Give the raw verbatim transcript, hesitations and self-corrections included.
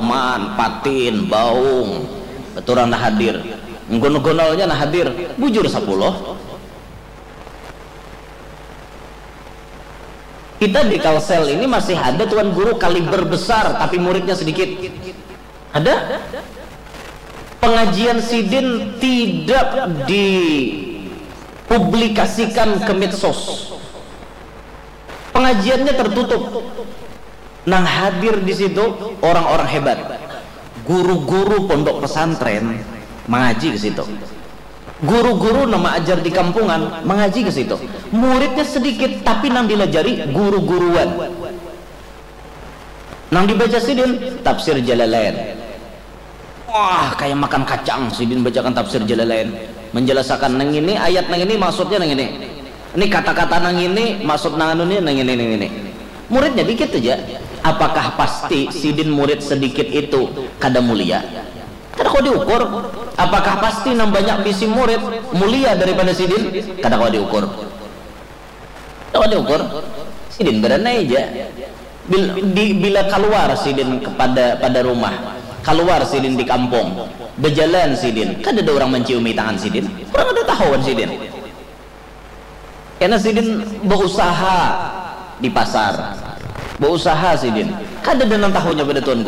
Sulman, Patin, Baung, keturang nah hadir. Gonol-gonolnya nah hadir, bujur sapuluh. Kita di Kalsel ini masih ada tuan guru kaliber besar, tapi muridnya sedikit. Ada. Pengajian sidin tidak dipublikasikan ke medsos. Pengajiannya tertutup. Nang hadir di situ orang-orang hebat. Guru-guru pondok pesantren mengaji ke situ. Guru-guru nama ajar di kampungan mengaji ke situ. Muridnya sedikit, tapi nang dilajari guru-guruan. Nang dibaca sidin tafsir Jalalain. Wah, kayak makan kacang sidin bacakan tafsir Jalalain. Menjelasakan nang ini, ayat nang ini, maksudnya nang ini. Ini kata-kata nang ini, maksud nang anu ni nang ini, nang ini. Muridnya dikit aja. Apakah pasti sidin murid sedikit itu kada mulia? Kada kawa diukur. Apakah pasti nang banyak bisi murid mulia daripada sidin? Kada kawa diukur. Kada kawa diukur. Sidin baranai ja. Bil, di, bila kaluar sidin kepada pada rumah, kaluar sidin di kampung, bajalan sidin, kada ada urang manciumi tangan sidin, urang kada tahu wan sidin. Kena sidin bausaha di pasar, bausaha sidin, kada ada nang tahunya pada tuan guru.